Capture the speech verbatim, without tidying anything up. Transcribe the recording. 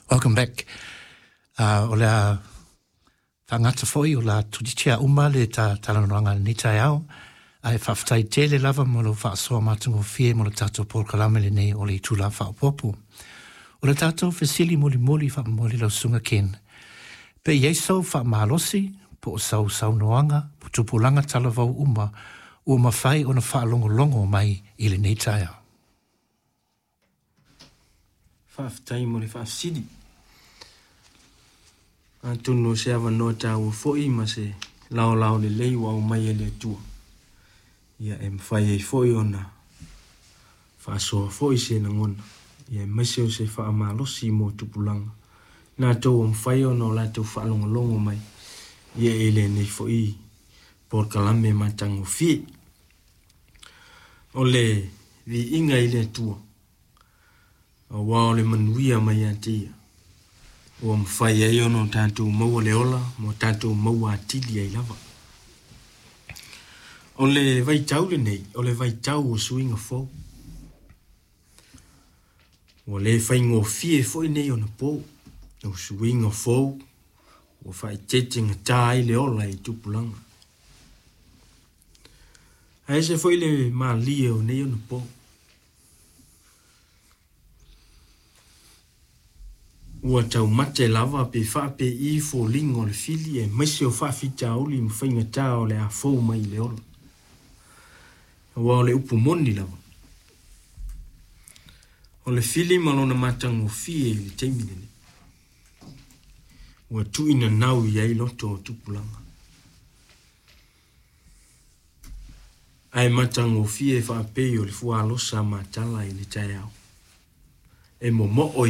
Welcome back. Uh, o le a faagata foi o la tutitia uma le ta talanoaga i lenei taeao. Ae faafetai tele lava mo lou faasoa matagofie mo le tatou polokalame lenei o le Itula Faaopoopo. O le tatou fesili mulimuli faamomoli lau susuga Ken. Pe i ai sou faamalosi po o sau saunoaga po tupulaga talavou uma ua mafai ona faalogologo mai i lenei taeao. Faafetai mo le faafesili. Atonu o se avanoa taua foi ma se laolao lelei ua aumai e le Atua. Ia e mafai ai foi ona faasoa foi se lagona. Ia aemaise o se faamalosi mo tupulaga. Latou ua mafai ona o latou faalogologo mai ia i lenei foi polokalame matagofie. O le viiga i le Atua, aua o le manuia mai ia te Ia, ua mafai ai ona o tatou maua le ola ma o tatou maua atili ai lava. O le vaitau lenei, o le vaitau o suiga fou. Ua le faigofie foi nei ona po. O suiga fou ua faaeteetegatā ai le ola i tupulaga. Ae ese foi le malie o nei ona po. Ua taumate lava pe faapei foliga o le fili aemaise o faafitauli ma faigatā o le a fou mai i le ola. Aua o le upu moni lava. O le fili ma lona matagofie i le taimi lenei. Ua tuuinanau i ai loto o tupulaga. Ae matagofie faapei o le fualosa matala i le taeao. E momoo